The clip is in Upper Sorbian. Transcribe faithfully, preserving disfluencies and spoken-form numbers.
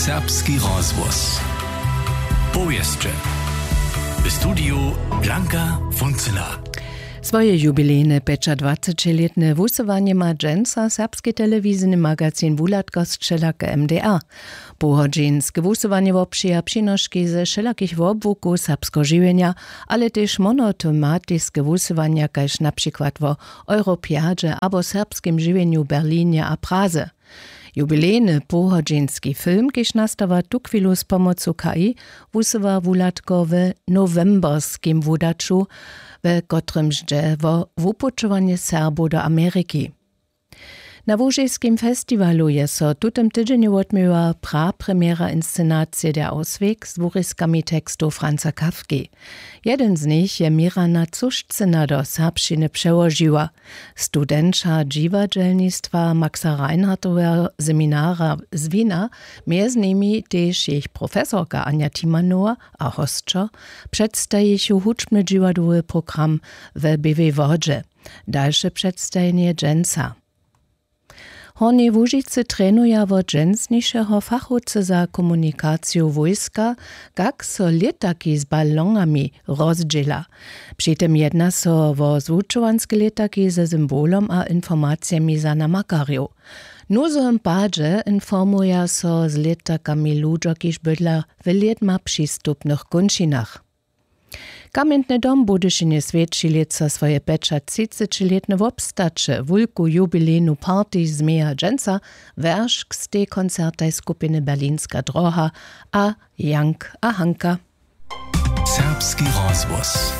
Serbski rozhłos. Powěsće. W studiju Blanka Funzela. Swoje jubilejne pjećadwacećilětne wusyłanje ma dźensa serbski telewizijny magazin Wuhladka z wšelake M D R. Pohodźinske wusyłanje wobpřija přinoški ze wšelakich wobłukow serbskeho žiwjenja, ale tež monotematiske wusyłanja, kaž na přikład wo Europjadźe abo serbskim žiwjenju w Berlinje a Praze. Jubilejny pohodźinski film, kiž nastawa tuchwilu z pomocu K I, wusyła Wuhladko w nowemberskim wudaću, we kotrymž dźe wo wupućowanje Serbow do Ameriki. Na łužiskim festiwalu je so w tutym tydźenju wotměła prapremjera inscenacije Der Ausweg z wuriskami tekstow Franza Kafki. Jedyn z nich je Mirana Cušcyna do serbšćiny přełožiła. Studenća dźiwadźelnistwa Maxa Reinhardtoweho seminara z Wina, mjez nimi tež jejich profesorka Anja Timanowa a hosćo, předstajichu hudźbny dźiwadłowy program w Běłej Wodźe. Dalše předstajenje dźensa. W Hornjej Łužicy trenuja wot dźensnišeho fachowcy za komunikaciju wójska, kak so lětaki z balonami rozdźěla. Při tym jedna so wo zwučowanske lětaki ze symbolom a informacijemi za namakarjow. W nuzowym padźe informuja so z lětakami ludźo, kiž bydla w lědma přistupnych kónčinach. Kamjentny dom w Budyšinje swjeći lětsa swoje pjećatřicećilětne wobstaće. Wulku jubilejnu party změja dźensa werškstej koncertaj skupiny Berlinska droha a Jank a Hanka. Serbski rozhłos.